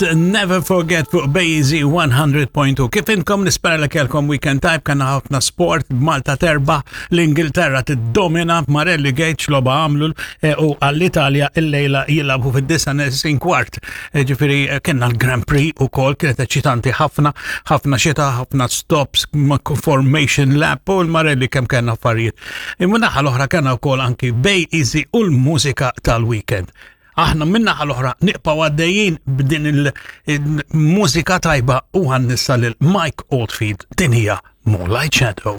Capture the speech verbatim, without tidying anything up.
Never Forget fuq BayEasy one hundred point two. Kif inkom? Nispera li kellkom weekend tajjeb. Kellna ħafna sport, Malta terbaħ, l-Ingilterra tiddomina, Marelli Gates logħba għamlu eh, u għall-Italja il-lejla jilagħbu fid-disgħa neqsin kwart. Eh, Ġifieri eh, kellna l-Grand Prix u kol kienet eċitanti ħafna, ħafna xita, ħafna stops, formation lap u l-Marelli kemm kellna affarijiet. Imma naħa l-oħra kellna wkoll anki BayEasy u l-mużika tal-weekend. Aħna min-naħa l-oħra nibqgħu għaddejjin b'din il-mużika tajba u għan nissa lil Mike Oldfield, din hija Moonlight Shadow.